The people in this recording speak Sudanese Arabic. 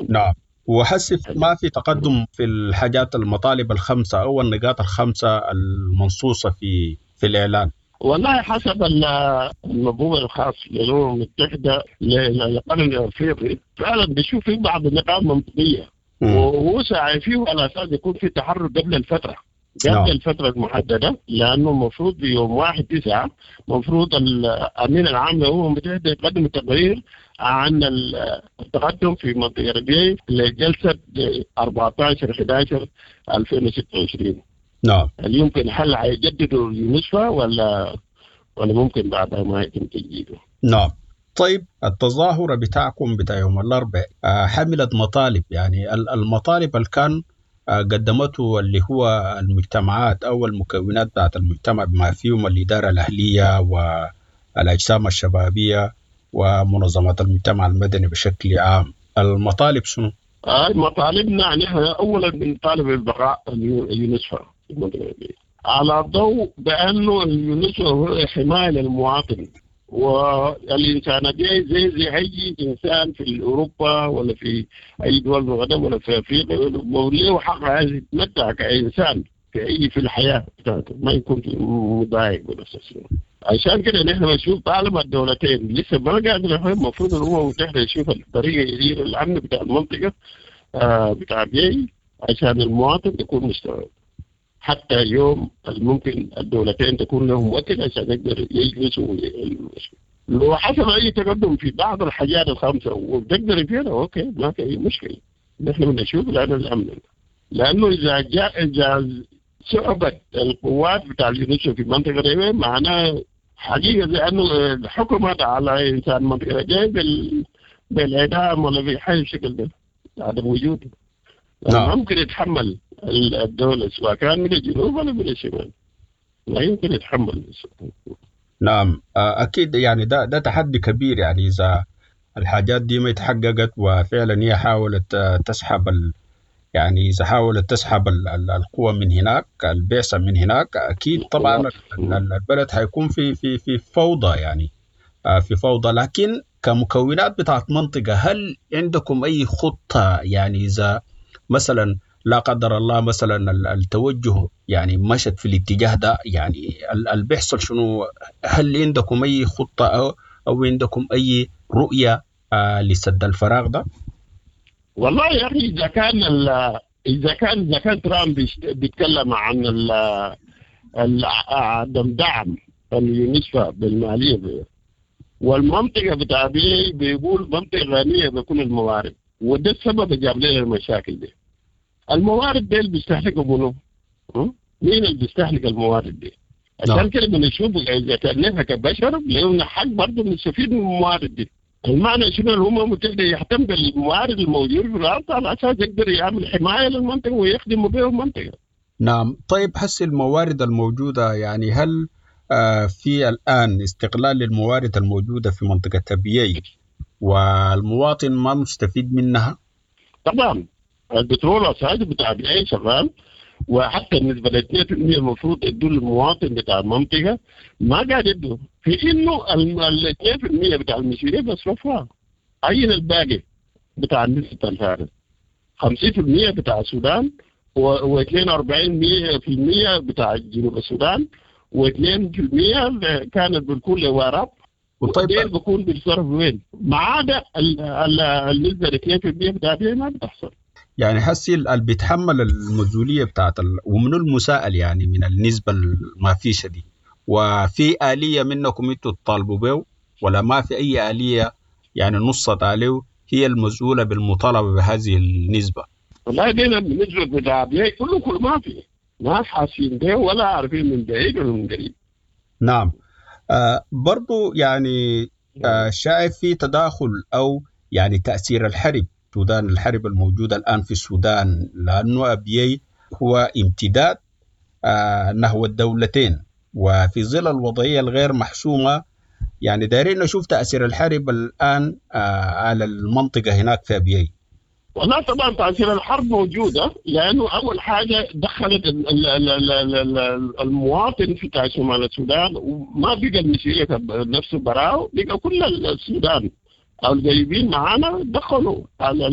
المنطقة. نعم، وحسي ما في تقدم في الحاجات المطالب الخمسة أو النقاط الخمسة المنصوصة في الإعلان. والله حسب المفهوم الخاص للأمم المتحدة للقرن الأفريقي فعلا بيشوف في بعض النقاط منطقية، وهو ساعي فيه على أساس يكون في تحرك قبل الفترة، قبل الفترة المحددة، لأنه المفروض يوم 1/9 مفروض الأمين العام للأمم المتحدة يقدم تقرير عن التقدم في منطقة أبيي لجلسة 14/11/2026. هل يمكن حل هيجددوا اليونسفا ولا ممكن بعدها ما يتم تجديده؟ نعم. طيب التظاهرة بتاعكم بتاع يوم الأربعاء حملت مطالب، يعني المطالب اللي كان قدمته اللي هو المجتمعات أو المكونات بتاعت المجتمع بما فيهم الإدارة الأهلية والأجسام الشبابية ومنظمات المجتمع المدني بشكل عام، المطالب شنو؟ مطالبنا نحن أولا بنطالب بالبقاء اليونسفا في المنطقة دي، على ضوء بأنه اليونسفا هو حماية للمواطن والإنسان دي زي أي إنسان في أوروبا ولا في أي دول الغرب ولا في أفريقيا، له حق عايز يتمتع كإنسان في الحياة بتاعته، ما يكون في مضايق ولا شيء. عشان كده نحن بنشوف طالما الدولتين لسه ما قاعدين، المفروض الأمم المتحدة يشوف الطريقة يدير الأمن بتاع المنطقة بتاع بيي عشان المواطن يكون مستوعب، حتى يوم الممكن الدولتين تكون لهم وقت عشان يقدر يجلسوا ويجلسوا. لو حصل أي تقدم في بعض الحاجات الخمسة وبتقدر فيها أوكي، ما في أي مشكلة. نحن بنشوف لأنه الأمن، لأنه إذا صعبت القوات بتاع اليونسكو في منطقة ريبي، معناه حقيقة زي أنه حكمت على إنسان منطقة ريبي بالإعدام ولا بحاجة بالشكل ده، عدم وجوده. ما ممكن يتحمل الدولة سواء كان من الجنوب ولا من الشمال، لا يمكن يتحمل. نعم، أكيد ده تحدي كبير، إذا الحاجات دي ما اتحققت وفعلا هي حاولت، تسحب ال-، يعني إذا حاولت تسحب القوة من هناك، البعثة من هناك، أكيد طبعا البلد حيكون في فوضى، في فوضى. لكن كمكونات بتاعت منطقة، هل عندكم أي خطة؟ إذا مثلا لا قدر الله مثلا التوجه مشت في الاتجاه ده، اللي بيحصل شنو؟ هل عندكم أي خطة أو عندكم أي رؤية لسد الفراغ ده؟ والله يا أخي، إذا كان ترامب بيتكلم عن عدم دعم اليونسفا بالمالية والمنطقة بتاع بيقول منطقة غنية بكل الموارد، وده السبب اللي جاب لنا المشاكل دي. الموارد دي اللي بيستهلكوا منو؟ مين اللي بيستهلك الموارد دي؟ عشان كده بنشوف إذا كان نحن كبشر لنا حق برضه نستفيد من الموارد دي. المعنى شنو؟ الأمم المتحدة يهتم بالموارد الموجودة في الأرض على أساس يقدر يعمل حماية للمنطقة ويخدم بها المنطقة. نعم. طيب هسه الموارد الموجودة، هل في الآن استغلال للموارد الموجودة في منطقة أبيي والمواطن ما مستفيد منها؟ طبعا البترول أساسي بتاع أبيي شغال، وحتى بالنسبة ل اثنين في المية المفروض يدوا للمواطن بتاع المنطقة ما قاعد يدوا، في إنه ال اثنين في المية بتاع المسيرية بيصرفوها. أين الباقي بتاع النسبة الفارق؟ خمسين في المية بتاع السودان واثنين وأربعين مية في المية بتاع جنوب السودان، واثنين في المية كانت بتكون لوراب. وديل بيكون بالصرف وين؟ ما عدا النسبة اثنين في المية بتاع دي ما بتحصل. حسي اللي بيتحمل المسؤولية بتاعت ومنو المساءل من النسبة ما فيش دي؟ وفي آلية منكم انتوا تطالبوا به ولا ما في أي آلية نصت عليه هي المسؤولة بالمطالبة بهذه النسبة؟ والله دينا بالنسبة بتاع بيه كله ما في، ما حاسين به ولا عارفين من بعيد ولا من قريب. نعم. برضو شايف في تداخل أو تأثير الحرب السودان، الحرب الموجودة الآن في السودان، لأنه أبيي هو امتداد نحو الدولتين، وفي ظل الوضعية الغير محسومة دايرين نشوف تأثير الحرب الآن على المنطقة هناك في أبيي. والله طبعا تأثير الحرب موجودة، لأنه أول حاجة دخلت المواطن في شمال السودان، وما بقى المسيرية نفسه براو، بقى كل السودان أو القريبين معانا دخلوا على